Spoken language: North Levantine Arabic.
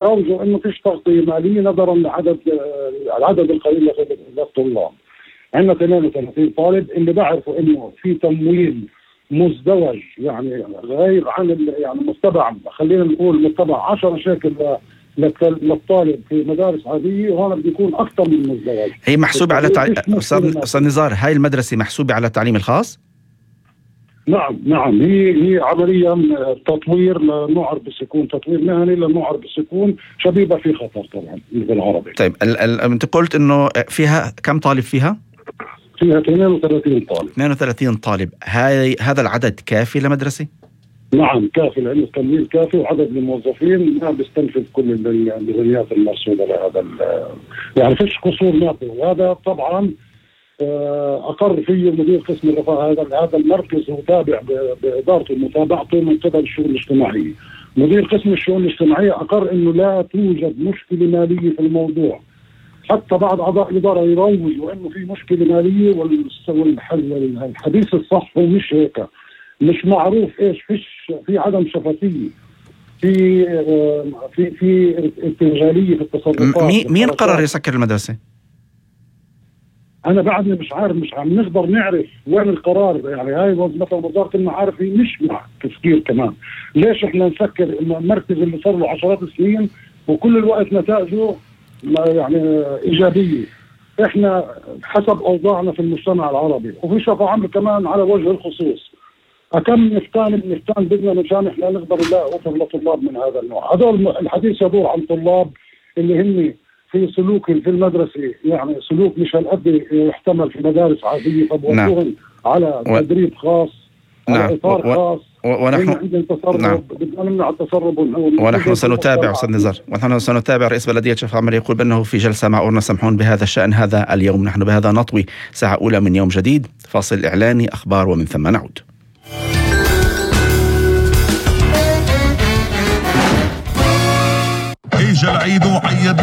أرجو أنه فيش تغطية مالية نظرا العدد القليل للطلاب. عندنا 32 طالب اللي بعرفوا أنه في تمويل مزدوج، يعني غير عن يعني متبع، خلينا نقول متبع 10 شيكل للطالب في مدارس عادية، وهذا بيكون أكثر من مزدوج. هي محسوبة على أستاذ نزار، هاي المدرسة محسوبة على التعليم الخاص؟ نعم هي عمليا تطوير للمعرب بالسكون، تطوير مهني للمعرب بالسكون، شبيبة في خطر طبعا بالعربي. طيب انت قلت انه فيها كم طالب فيها 32 طالب. 32 طالب، هذا العدد كافي لمدرسة؟ نعم كافي، لأنه التمويل كافي وعدد الموظفين ما بيستنفذ كل الميزانيات المرصودة لهذا يعني فيش قصور مادي. وهذا طبعا أقر فيه مدير قسم الرفاه. هذا المركز هو تابع بإدارته ومتابعته من قبل الشؤون الاجتماعية. مدير قسم الشؤون الاجتماعية أقر إنه لا توجد مشكلة مالية في الموضوع، حتى بعض أعضاء الإدارة يروجوا إنه في مشكلة مالية، والحديث الصح هو مش هيك. مش معروف إيش، في عدم شفافية، في ارتجالية في التصرفات. مين قرر يسكر المدرسة؟ أنا بعدني مش عارف، مش عم نقدر نعرف وين القرار. يعني هاي مثلا وزارة المعارف هي مش مع تفكير كمان. ليش إحنا نسكر المركز اللي صار له عشرات السنين وكل الوقت نتائجه يعني إيجابية؟ إحنا حسب أوضاعنا في المجتمع العربي، وفي شفاء عمر كمان على وجه الخصوص، أكم نفتان بدنا مشان إحنا نقدر نلاقي أفر لطلاب من هذا النوع. هذول الحديث يدور عن طلاب اللي هم في سلوك في المدرسة، يعني سلوك مش هالقد يحتمل في مدارس عادية، فبوجههم على تدريب خاص، على إطار خاص، ونحن بدنا نمنع التسرب. ونحن سنتابع أستاذ نزار، ونحن سنتابع. رئيس بلدية شفاء عمر يقول بأنه في جلسة مع أورنا سمحون بهذا الشأن هذا اليوم. نحن بهذا نطوي ساعة أولى من يوم جديد، فاصل إعلاني، أخبار، ومن ثم نعود.